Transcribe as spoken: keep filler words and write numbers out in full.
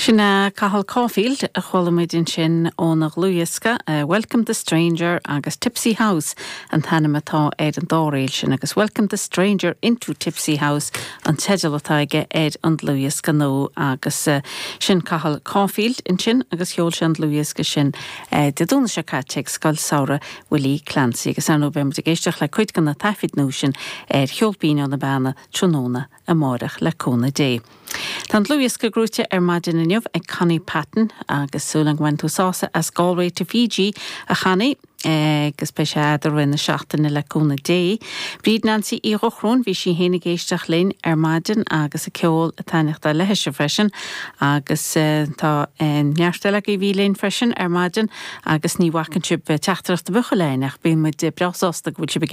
Sin Cathal Caulfield a chuala muid ansin óna dhlúthdhiosca uh, Welcome the Stranger agus Tipsy House an t-ainm atá ar an dá ríl sin agus Welcome the Stranger into Tipsy House an teideal atá aige ar an dlúthdhiosca nua agus uh, sin Cathal Caulfield ansin agus sheol sé an dlúthdhiosca sin uh, Dé Domhnaigh seo caite ag Scoil Samhraidh Willie Clancy agus ar ndóigh beimid ag éisteacht le cuid de na taifid nua sin ar Cheol Binn Ó na Beanna tráthnóna amárach le cúnamh Dé. Tá an dlúthdhiosca gnóthaithe ar maidin inniu ag Connie Patton agus súil go mbaineann tú sásamh as Galway to Fiji a Chonnie agus beidh sé i rith na seachtaine le cúnamh Dé. Bríd Nancy Uí Dhochróin bhí sí féin ag éisteacht linn ar maidin agus a ceol ag taitneamh léithe freisin agus tá neart eile a bhí linn freisin ar maidin agus ní bhacann sibh teachtaireacht a bhuchaléin ach bíonn muid breá sásta go bhfuil sibh